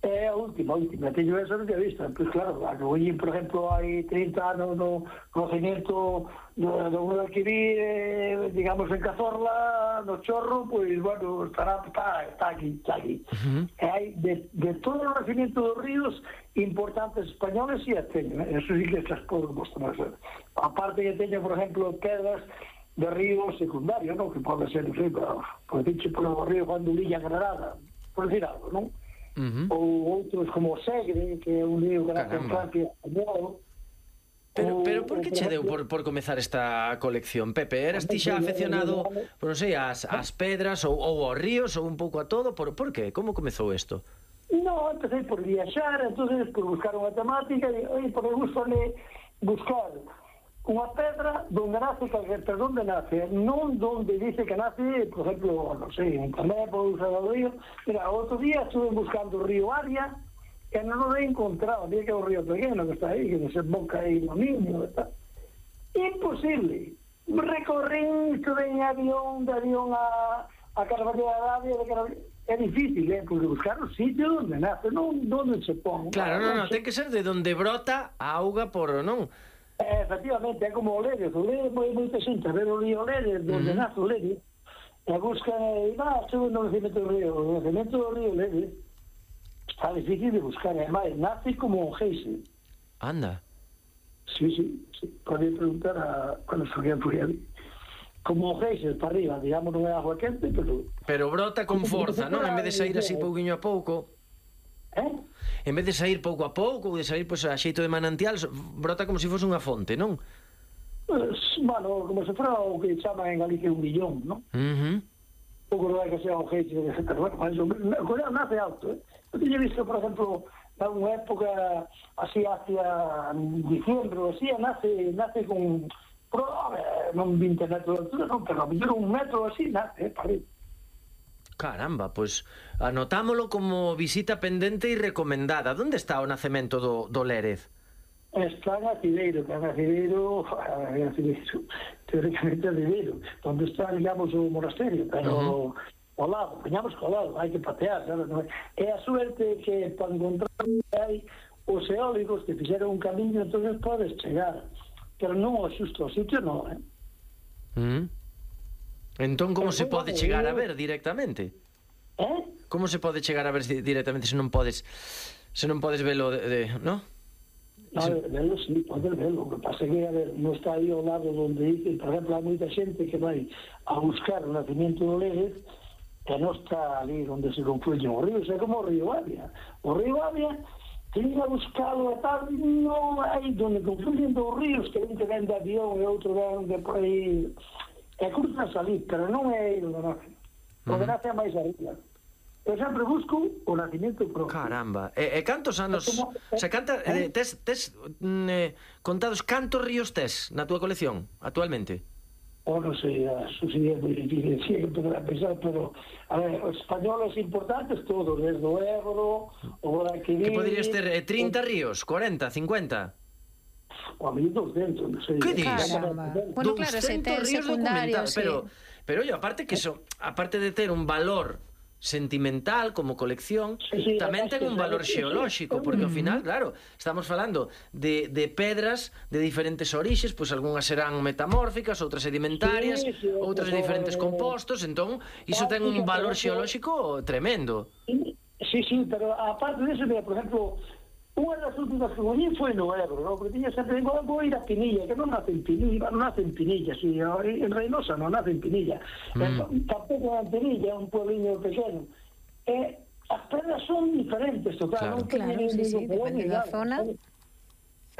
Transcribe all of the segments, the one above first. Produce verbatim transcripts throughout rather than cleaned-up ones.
É a última, a última. Teño esa non tinha vista. Pois claro, a que voy, por exemplo, hai trinta anos no conocimiento do, do mundo que vi, eh, digamos, en Cazorla, no Chorro, pois, bueno, estará, está, está aquí, está aquí. Uh-huh. E hai de, de todo o nacimiento dos ríos importantes españoles e as teño, eh? Eso sí que estas podo mostrar. Aparte que teño, por exemplo, pedras de ríos secundarios, non? Que pode ser, non sei, por decirche, por o río Juan de Ulilla, Granada, por decir algo, non? Uh-huh. Ou outros como o Segre, que é un río que nace en Francia español. Pero, pero por que che deu por, por comezar esta colección, Pepe? Eras ti xa afeccionado, non sei, ás, ás pedras ou, ou aos ríos ou un pouco a todo? Por, por que? Como comezou isto? No, empecé por viaxar, entonces por buscar unha temática, e, oi, porque gustame buscar unha pedra donde nace calquer, pero donde nace, non donde dice que nace, por exemplo, non sei, en Internet, por usar o río. Mira, outro día estuve buscando o río Aria, que non o he encontrado, día que é o río pequeno que está aí, que desemboca aí no Niño, está. Imposible. Recorrí, estuve en avión, de avión a, a Carballo de Arabia, de Carballo. É difícil, eh, porque buscar o sitio onde nace, non onde se pon. Claro, non, non, ten que ser de onde brota a auga por, non? Eh, efectivamente, é como o Lérez, o Lérez moi moita xente a ver o río Lérez, donde uh -huh. nace o Lérez, e busca, e va, sube no nacimiento do río, o nacimiento do río Lérez, está difícil de buscar, además, nace como un geise. Anda. Sí, sí, sí, pode preguntar a cuando fui ali. Como un geise para arriba, digamos, non é agua quente, pero... Pero brota con forza, non? En vez de sair así pouquiño a pouco... Eh? En vez de sair pouco a pouco, ou de sair pois, a xeito de manantial, brota como se fose unha fonte, non? Pues, bueno, como se fora o que chama en Galicia un millón, non? Uh -huh. Pouco non é que sea un geise, pero bueno, o Corea nace alto, eh? Eu teño visto, por exemplo, na unha época así hacia diciembre, así, nace, nace con... Pero, a ver, non vinte metros de altura, non, pero a mellor un metro así, nace, eh, para arriba. Caramba, pois pues, anotámolo como visita pendente e recomendada. Onde está o nacemento do, do Lérez? Está en Acideiro, que en Acideiro, en Acideiro, teóricamente Acideiro, onde está, digamos, o monasterio, pero uh -huh. ao lado, poñamos ao lado, hai que patear, sabes? É a suerte que para encontrar hai os eólicos que fixeron un camiño, entonces podes chegar, pero non o xusto ao sitio, non, eh? Uh -huh. Entón, como se pode chegar a ver directamente? Eh? Como se pode chegar a ver directamente se non podes se non podes velo de, de no? No, velo sí, podes velo. O que pasa é que, a ver, non está aí ao lado onde dice, por exemplo, hai moita xente que vai a buscar o nacimiento do Lérez que non está ali onde se confluyen os ríos, é como o río Avia. O río Avia teñen a buscalo e tal, non hai onde confluyen dos ríos, que un que ven de avión e outro ven de por aí... É curta salir, pero non é onde nace. Onde nace a máis arriba. Eu sempre busco o nacimiento propio. Caramba. E, e cantos anos... Como, o sea, canta, eh? tes, tes eh, contados cantos ríos tes na túa colección, actualmente? O non sei, eso sería moi difícil, sí, que poder pensar, pero a ver, os españoles importantes todos, desde o Ebro, o Guadalquivir... Que poderías ter eh, trinta ríos, cuarenta, cincuenta... O a mil doscientos, non sei. Que dis? Bueno, claro, se ten secundarios, sí. Pero, pero, oye, aparte que eso, aparte de ter un valor sentimental como colección, sí, sí, tamén ten un valor xeolóxico, porque ao final, claro, estamos falando de, de pedras de diferentes orixes, pois algunhas serán metamórficas, outras sedimentarias, sí, sí, outras de diferentes compostos, entón, iso ten un valor xeolóxico tremendo. Sí, sí, pero aparte de eso, mira, por exemplo, unha das últimas que volví foi no Ebro, ¿no? Porque tiña sempre, digo, vou ir a Pinilla, que non nace en Pinilla, non nace en Pinilla, sí, en Reynosa non nace en Pinilla, mm. tampouco en Pinilla, é un puebliño pequeno. Eh, as pedras son diferentes, total, claro, non claro, sí, sí, depende da zona.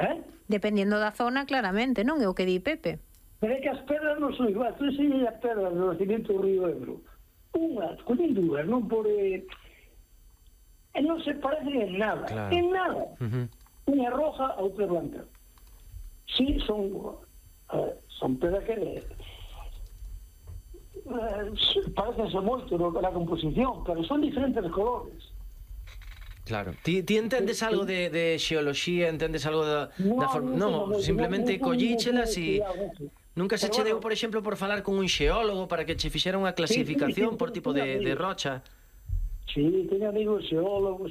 Eh? Dependendo da zona, claramente, non é o que di Pepe. Pero é que as pedras non son igual, tú enseñas as pedras do nacimiento do río Ebro. Unha, collín dúas, non por... Eh, e non se parecen en nada, claro. En nada. Uh -huh. Unha roja a outra blanca. Sí, son uh, son pedras que uh, parecense moito no, na composición, pero son diferentes colores. Claro. Ti, ti entendes algo de, de xeoloxía, entendes algo da, no, da forma... No, no, simplemente no, no, collíchelas e... Nunca se che deu, por exemplo, por falar con un xeólogo para que che fixera unha clasificación sí, sí, sí, por tipo de, de rocha? Sí, teño amigos xeólogos,